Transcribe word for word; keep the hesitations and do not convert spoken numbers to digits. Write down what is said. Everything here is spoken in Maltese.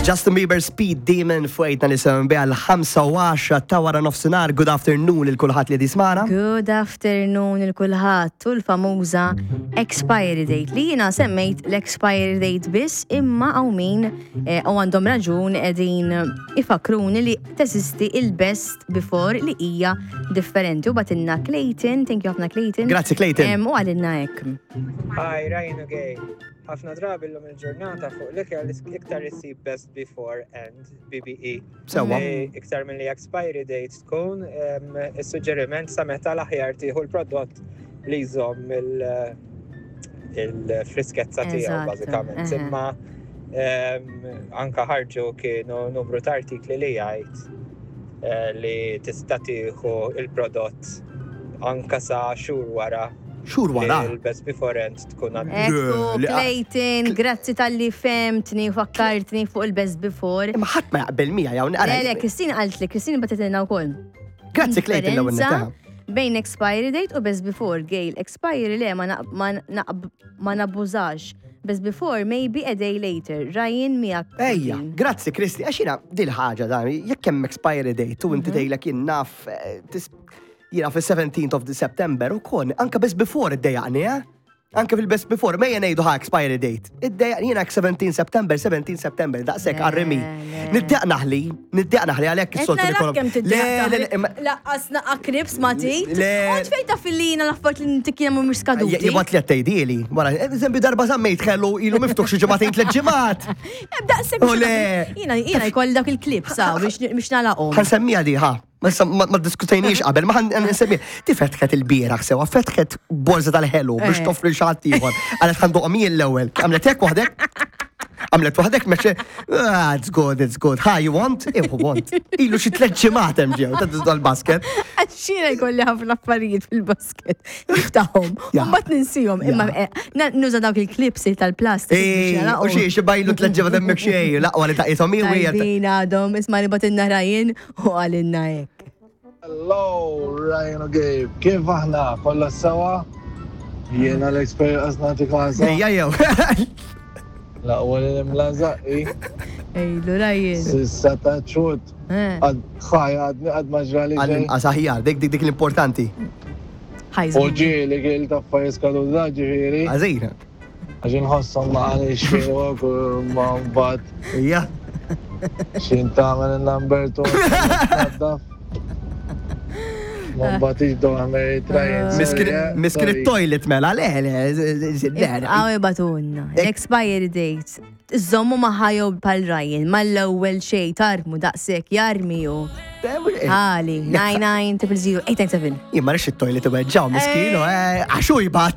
Justin Bieber, Speed Demon, fuq eight ninety-seven B għal ħamsa u għaxra ta' wara nofsinhar. Good afternoon lil kulħadd li jismagħna. Good afternoon lil kulħadd u l-famuża expiry date li jiena semmejt l-expiry date biss, imma hawn min eh, u għandhom raġun, qegħdin ifakruni li teżisti il-best before li hija differenti, u bagħtilna Clayton. Thank you ħafna, Clayton. Grazzi, Clayton. Em, U qalilna hekk. Hi, Ryan u Gabe. Ħafna drabi l-lum il-ġurnata fuq l-ikel iktar isib best before and B B E. Sewwa. Eh, Iktar minn li expiry date tkun em, is-suġġeriment sa meta l-aħjar tieħu l-prodott li jżomm il- il-friskezza tiegħu Eżatt, bażikament. eħe. Imma em, anka ħarġu kienu numru ta' artikli li jgħid eh, li tista' tieħu il-prodott anka sa xhur wara Xhur wara. li l-best before end tkun għaddiet. Ekku, Li- Clayton, grazzi talli fhimtni u fakkartni fuq il-best before. Imma ħadd ma jaqbel miegħi hawn. Le, le, Kristina qalt li Kristina bagħtitilna wkoll. Grazzi, Clayton, l-ewwel Differenza netta. bejn expiry date u best before. Gail, expiry le, ma naq- ma naq- ma nabbużax. Best before maybe a day later. Ryan, miegħek. Ejja, grazzi, Kristi, għax jiena dil-ħaġa dan, jekk hemm expiry date u inti tgħidlek jien naf eh, tis- jiena fis-seventeenth of September u kon, anka best before iddejjaqni, eh? Anka fil-best before, mejja ngħidu ħa expiry date. Iddejjaqni jiena seventeen September, seventeen September, daqshekk Le, għarrimi. Le. Niddejjaq naħli, niddejjaq naħli għalhekk is-soltu li Kemm Le, le, le, imma- Laqqas naqra crisps ma tit. Le. Kont fejn taf li jiena l-affarijiet li ntikjena mhumiex skaduti? Jibgħat li għattejdili. Wara, eżempju, darba żammejt ħelu ilu miftuħ xi ġimagħtejn, tliet ġimgħat. Daqshekk. U le. Jiena jiena jkolli dak il-clips saw biex biex nagħlaqhom. Ħa nsemmija di, ħa. Ma ma- ma diskutejniex qabel, ma ħa nsemmiha. Ti fetħet il-bieraħ sewa, fetħet borza tal-ħelu biex Eh. toffri xi ħadd ieħor. Qalet ħa nduqhom jien l-ewwel. Għamlet hekk waħdek. Għamlet waħdek meċe, ah, it's good, it's good. Ha, you want? Ihu want. Ilu xi tliet ġimgħat hemm ġew, ta' dal-basket. Għax jiena jkolli ħafna affarijiet fil-basket. Niftaħhom. Ja. U mbagħad ninsihom. Imma eh, na- nuża dawk il-clips tal-plastik biex Ej, u nagħlaqhom. xie, xi bajlu tliet ġimgħat hemmhekk xejn, l-aqwa li taqithom hi u hija. Tajbin għadhom, isma' li bagħtilna Ryan u qalilna hekk. Hello, Ryan u Gabe. Kif aħna? Kollha sewa? Jiena l-expert għaznati klasa. Ejja jew. L-aqwa li nimla żaqqi. Ejlu, Ryan. Sissa ta' ċut. Eh, Ħaj, għadni għad maġrali ġej. Għall-inqas aħjar, dik dik dik l-importanti. U ħajżu. ġieli kiel ta' affarijiet skaduta, ġifieri. Għażin. Għax inħosshom ma għani xinwok u ma mbagħad Ejja. xin tagħmel il-number two. Ma mbagħad iġdu għamel trajen. Miskin it-toilet mela, le, le, le. Għaw ibagħtulna. L-expiry date. Iżommu maħajow pal Ryan, mal-ewwel xej tarmu daqshekk jarmi ju. Għali, nine nine triple zero eight nine seven. Jien ma rridx it-toilet iweġġaw, miskinu, eh, għaxu jibgħat.